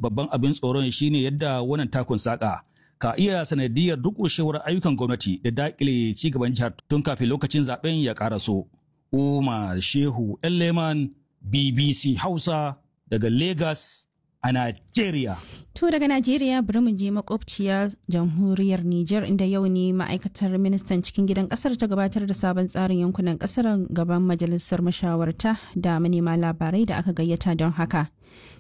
Babban abin tsoron shine yadda wannan takun saka ka iya sanadiyar durƙushewar ayyukan gwamnati da daƙile ci gaban jihar tun kafin lokacin zaben ya ƙaraso. Umar Shehu Elleman, BBC Hausa daga Lagos a Najeriya. To daga Najeriya bari mu je makwabciya jamhuriyar Nijar, inda yau ne ma'aikatar ministan cikin gidan kasar ta gabatar da sabon tsarin yankunan kasar gaban majalisar mashawarta da manema labarai da aka gayyata don haka.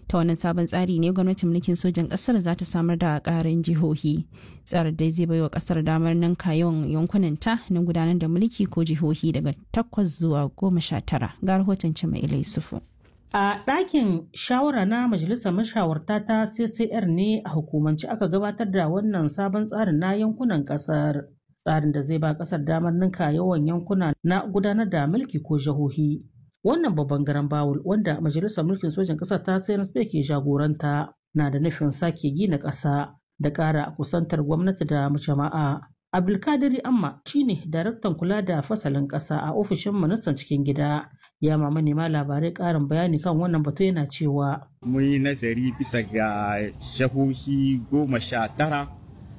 Ta wannan sabon tsari ne gwamnatin mulkin sojan kasar za ta samar da karin jihohi. Tsarin dai zai baiwa kasar damar ninka yawan yankunan ta na gudanar da mulki ko jihohi daga 8 zuwa 19. Ga rahoton Cima Ilai Sufu. A ɗakin shawara na Majalisar Mashawarta ta CCR ne a hukumance aka gabatar da wannan sabon tsarin na yankunan ƙasar. Tsarin da zai ba ƙasar damar ninka yawan yankuna na gudanar da mulki ko jihohi. Wannan babban garan bawul wanda Majalisar Mulkin Sojan Ƙasar ta CNSP ke jagoranta na da nufin sake gina ƙasa da ƙara kusantar gwamnati da jama'a. Abdulkadiri Amma shine daraktan kula da fasalin ƙasa a ofishin ministan cikin gida. Ya ma manema labarai ƙarin bayani kan wannan batu, yana cewa. Mun yi nazari bisa ga shahohi 19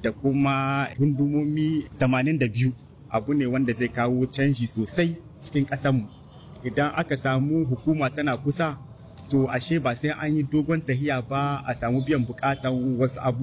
da kuma hundumomi 82. Abu ne wanda zai kawo canji sosai cikin ƙasanmu. Idan aka samu hukuma tana kusa, to ashe ba sai an yi dogon tahiya ba a samu biyan bukatan wasu abubuwa.